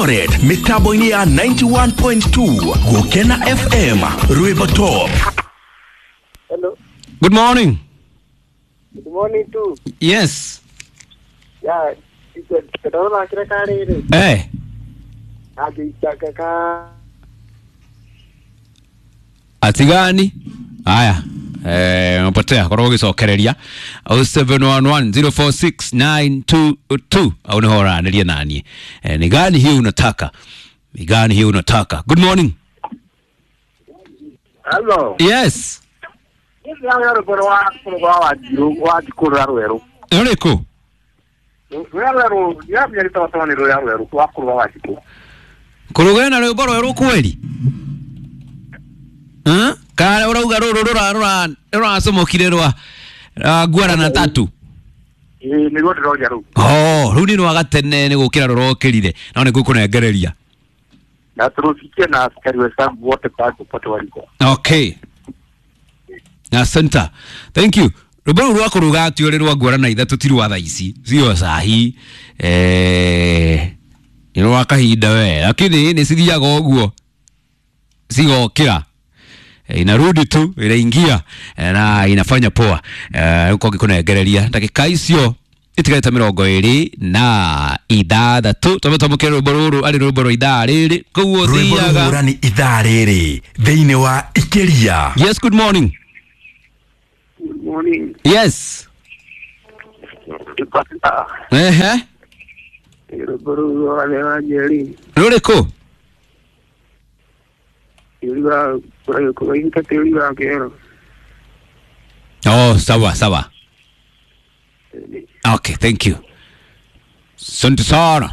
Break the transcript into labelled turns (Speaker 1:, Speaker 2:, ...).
Speaker 1: Eldoret mitambo-inĩ ya 91.2 Gũkena FM Rwĩmbo Top.
Speaker 2: Hello.
Speaker 3: Good morning.
Speaker 2: Good morning too.
Speaker 3: Yes.
Speaker 2: Yeah, ndona kira kariri.
Speaker 3: Eh.
Speaker 2: Agĩitanga ka
Speaker 3: Atigani. Haya. Umepotea korwo ũgĩcokereria 0711046922 au nĩho ũranĩria naniĩ. Ni gani hiyo unataka? Ni gani hiyo unataka? Good morning.
Speaker 2: Hello.
Speaker 3: Yes.
Speaker 2: Nĩ rwĩmbo rwa rwa wanjiru wa njikũrũra rwerũ.
Speaker 3: Rũrĩkũ?
Speaker 2: Rũrĩa rwerũ, ndiramenya rĩtagwo nĩ rũrĩa rwerũ rwa kũrũga wa njikũ.
Speaker 3: Kũrũgana na rwĩmbo rwerũ kweli? Kana ũrauga rũrũ rũracomokire rwa ngwara na tatu?
Speaker 2: Ĩĩ nĩruo ndĩroria rũu.
Speaker 3: Oh, rũu nĩ rwa gatene nĩ gũkĩra rũrokĩrire no nĩ ngũkũnengereria.
Speaker 2: Na tũrũcikie na askari wenzangu wote pale popote waliko.
Speaker 3: Okay. Asante. Thank you. Rwĩmbo rũu rwa kũrũga atĩ ũrĩ rwa ngwara na ithatũ ti rwa thaa ici sio sahi, nĩ rwa kahinda we, lakini nĩ cithiaga ũguo cigokĩra, inarudi tu inaingia, na inafanya poa. Uko ngĩkũnengereria ndagĩka icio itigarĩte 26 twambe twamũkĩre rwĩmbo rũrũ arĩ rwĩmbo rwa ithaa rĩrĩ koguo
Speaker 1: Rwĩmbo
Speaker 3: thiaga.
Speaker 1: rũhũrani ithaa rĩrĩ thĩinĩ wa Ikĩria.
Speaker 3: Yes, good morning.
Speaker 2: Good morning.
Speaker 3: Yes. Ehe.
Speaker 2: Rwĩmbo rũu rwa rwa Njeri.
Speaker 3: Rũrĩkũ?
Speaker 2: Tĩri wa kũraita tĩri wa kĩero.
Speaker 3: Oh, sawa sawa. Okay, thank you. Asante sana.